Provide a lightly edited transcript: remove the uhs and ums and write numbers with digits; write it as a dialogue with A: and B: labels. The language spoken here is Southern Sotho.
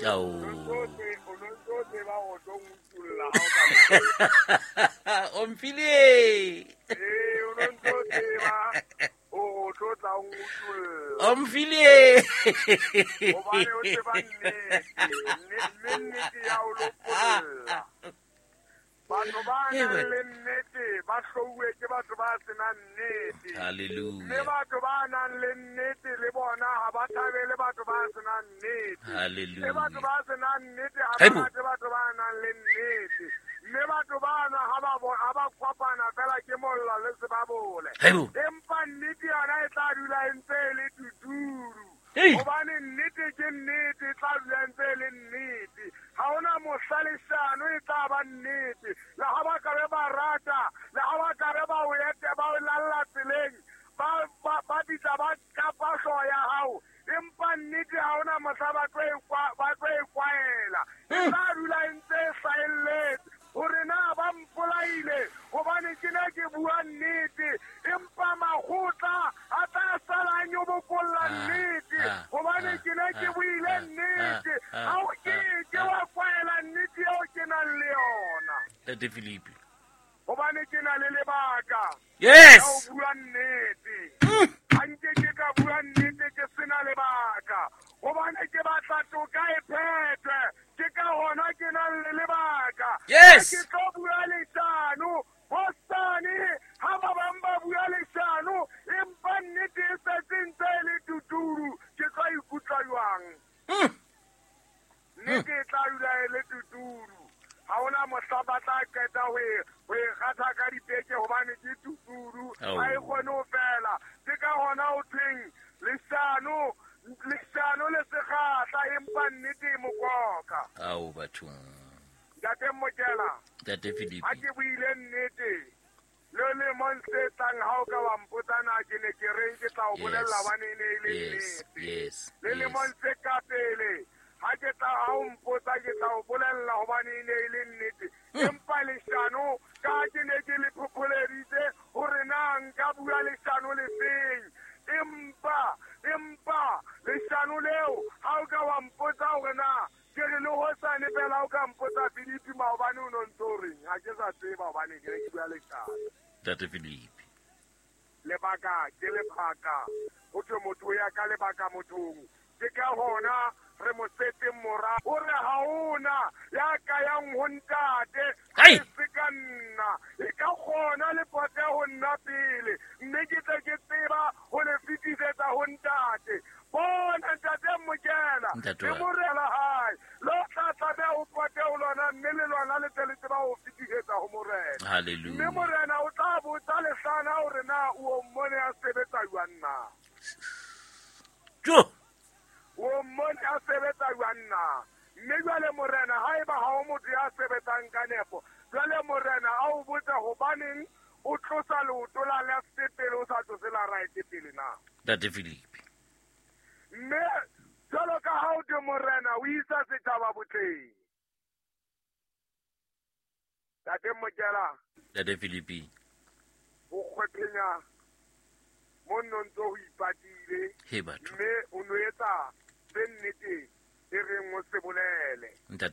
A: Ao.
B: O no ntso tseba o tlo nkutulla ha o ka
A: O mfile.
B: Ee, o no ntso tseba o tlo tla o nkutulla.
A: O mfile.
B: Hobane o tseba nnete, mme nnete ya o lopolla. Batho ba nang le nnete ba hlouwe ke batho ba senang nnete. Mme
A: Hallelujah.
B: batho ba nang le nnete le bona ha ba thabele batho ba senang nnete. Mme
A: Hallelujah.
B: batho ba senang nnete ha ba
A: Haibo.
B: rate batho ba nang le nnete. Mme batho bana ha ba ha ba kopana fela ke mollo le sebabole.
A: Haibo.
B: Empa nnete yona e tla dula e ntse e le tuturu.
A: Hey.
B: Hobane nnete ke nnete, e tla dula e ntse e le nnete. Ha hona mohla leshano e tla ba nnete. Le ha ba ka be ba rata, le ha ba ka be ba o ete, ba o lalla tseleng, ba bitsa ba kapa hlooho ya hao. Empa nnete ha hona mohla ba tlo e ba tlo e kwaela. E tla dula e ntse e hlahelletse. Hore na ba mpolaile hobane ke ne ke bua nnete, empa makgotla a tla sala a nyobokolla nnete hobane ke ne ke buile nnete. Ha o ke ke wa kwaela nnete eo ke nang le yona.
A: Ntate Philippe.
B: Hobane ke na le lebaka
A: Yes.
B: la ho bua nnete. Ha nke ke ka bua nnete ke sena lebaka. Hobane ke batla toka e phethwe. Ke ka hona ke nang le lebaka.
A: Yes.
B: Ha ke tlo bua leshano, hosane ha ba bang ba bua leshano, empa nnete e setse ntse e le tuturu, ke tlo ikutlwa jwang? Nnete e tla dula e le tuturu. Ha hona mohla ba tla qeta ho e kgatha ka dipeke hobane ke tuturu.
A: Ao.
B: Ha e kgone ho fela. Ke ka hona ho thweng leshano, leshano le sekgahla, empa nnete e mokoka.
A: Ao bathong.
B: Ntate Mokela,
A: Ntate Philippe.
B: ha ke buile nnete, le lemong se tlang ha o ka wa mpotsa na ke ne ke reng, ke tla o bolella hobane e ne e le nnete.
A: Yes.
B: Le lemong se ka pele, ha ke tla ha o mpotsa ke tla o bolella hobane e ne e le nnete. Empa leshano, ka ha ke ne ke le phopholeditse hore na nka bua leshano le feng. Empa leshano leo, ha o ka wa mpotsa hore na ke re le hosane fela ha o ka mpotsa Philippe maobane o no ntso o reng, ha ke sa tseba hobane ke ne ke bua leshano.
A: Ntate Philippe.
B: Lebaka ke lebaka. Ho thwe motho o ya ka lebaka mothong. Ke ka hona re mo setseng mora. O re ha hona ya ka yang ho ntate,
A: Hai!
B: e se ka nna. E ka kgona le pote ho nna pele. Mme ke tle ke tseba ho le fetisetsa ho ntate. Bona ntate Mokela,
A: Ntate
B: le
A: wa ka.
B: morena hae. Lo tla tlameha ho pote ho lona, mme le lona le tle le tseba ho fetisetsa ho morena. Mme
A: Hallelujah.
B: morena o tla botsa lehlana hore na o mmone a sebetsa jwang na.
A: Jo.
B: O mmone a sebetsa jwang na. Mme jwale morena, haeba ha o motho ya sebetsang ka nepo, jwale morena a o botse hobaneng o tlosa leoto la left pele o sa tlose la right pele na.
A: Ntate Philippe.
B: Mme jwalo ka ha o thwe morena o isa setjhaba botleng. Ntate Mokela,
A: Ntate Philippe.
B: ho kgwephenya mo nno ntso ho ipatile,
A: He batho.
B: mme o no etsa se nnete e reng o se bolele.
A: Ntate